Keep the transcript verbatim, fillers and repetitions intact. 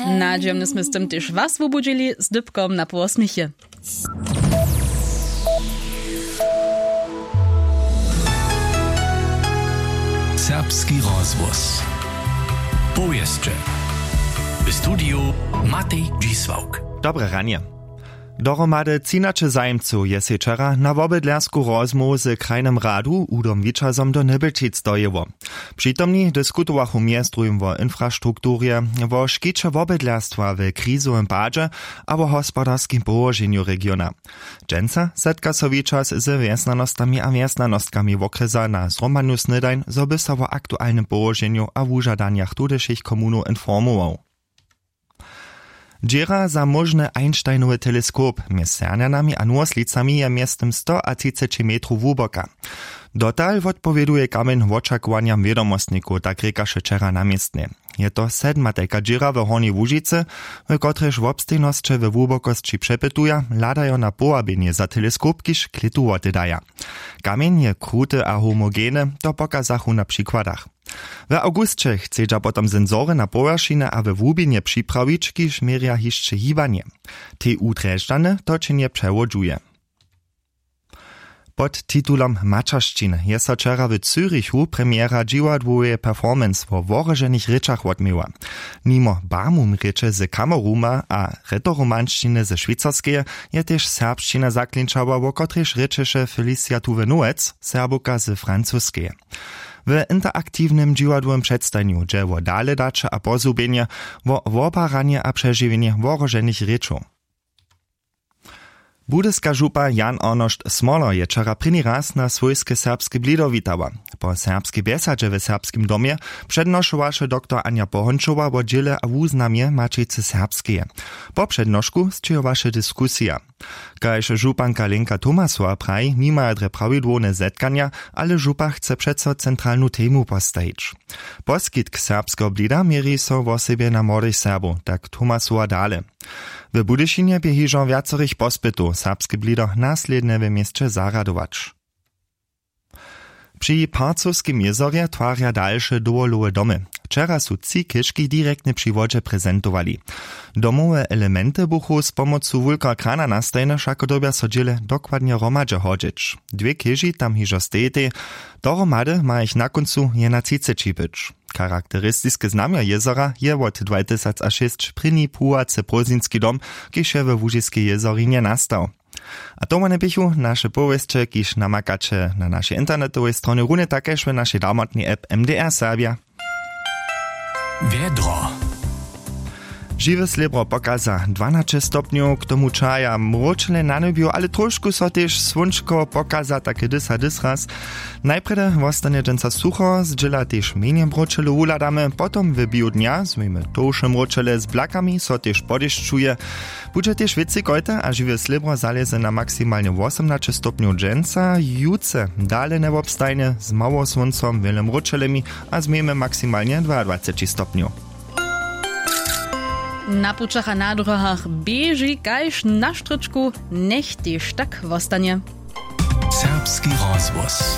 Nadźijomnje smy z tym tež was wubudźili z dypkom na połosměchy. Serbski rozhłos. Powěsće. W studiju Matej Dźisławk. Dobre ranje. Dohromady třinaće zajimcow je sej wčera na wobydlersku rozmołwu z krajnym radu Udom Wićazom do Nybelčic dojěło. Přitomni diskutowachu mjez druhim wo infrastrukturje, wo škiće wobydlerstwa w krizowym padźe a wo hospodarskim połoženju regiona. Dźensa zetka so Wićaz z wjesnjanostami a wjesnjanostkami wokrjesa na zhromadnu snědań, zo by so wo aktualnym połoženju a wužadanjach tudyšich komunow informował. Dźěra za móžny Einsteinowy teleskop mjez Sernjanami a Nowoslicami je mjeztym sto a třiceći metrow hłuboka. Dotal wotpowěduje kamjeń wočakowanjam wědomostnikow, tak rěkaše wčera na městnje. Je to sedmatajka dźěra w Hornjej Łužicy, w kotrejž wobstejnosće we hłubokosći přepytuja, hladajo na powabjenje za teleskop, kiž klětu wotedaja. Kamjeń je kruty a homogeny, to pokazachu na přikładach. W awgusće chcedźa potom sensory na powjeršinje a we hłubinje připrawić, kiž měrja hišće hibanje. T U Drježdźany to činje přewodźuje. Pod titulom Maćeršćin je so wčera w Zürichu premiera dźiwadłoweje performance wo wohroženych rěčach wotměła. Nimo Bamum rěče z Kameruma a retoromanšćiny ze Šwěcarskeje je tež serbšćina zaklinčała, wo kotrejž rěčeše Felicia Tuwe-Nowec, Serbowka z Francuskeje. W interaktiwnym dźiwadłowym předstajenju dźe wo daledaće a pozhubjenje, wo wobaranje a přežiwjenje wohroženych rěčow. Budyska župa Jan Arnošt Smoler je wčera prěni raz na swójske serbske blido witała. Po serbskej bjesadźe w Serbskim domje přednošowaše doktor Anja Pohončowa wo dźěle a wuznamje Maćicy Serbskeje. Po přednošku sćěhowaše diskusija. Kaž županka Lenka Tomasowa praji, nimaja drje prawidłowne zetkanja, ale župa chce přeco centralnu temu postajić. Poskitk serbskeho blida měri so wosebje na młodych Serbow, tak Tomasowa dale. W Budyšinje bě hižo wjacorych pospytow serbske blido naslědnje w měsće zarjadować. Při Parcowskim jězorje twarja dalše dowolowe domy. Wčera su tři chěžki direktnje při wodźe prezentowali. Domowe elementy buchu z pomocu wulkeho krana nastajene, wšako dyrbja so dźěle dokładnje hromadźe hodźeć. Dwě chěži tam hižo stejitej, dohromady ma jich na kóncu jena třiceći być. Charakteristiske znamjo jězora je wot dwatysacšěsć prěni płuwacy prózdninski dom, kiž je we Łužiskej jězorinje nastał. A to wone běchu naše powěsće, kiž namakaće na našej internetowej stronje, runje tak kaž w našej damotnej app M D R Serbja. Wjedro. Žiwe slěbro pokaza dwanaće stopnjow, k tomu čaja mróčele na njebju, ale trošku so tež słónčko pokaza, take dys a dys raz. Najprjedy wostanje dźensa sucho, zdźěla tež mjenje mróčele wuhladamy, potom w běhu dnja změjemy tołše mróčele z blakami, so tež podešćuje. Budźe tež wěcej kojte a žiwe slěbro zalěze na maksimalnje wosomnaće stopnjow dźensa, jutře dale njewobstajnje z mało słóncom, wjele mróčelemi a změjemy maksimalnje dwaadwaceći stopnjow. Na pućach a na dróhach běži kaž na štrěčku, njech tež tak wostanje. Serbski rozhłos.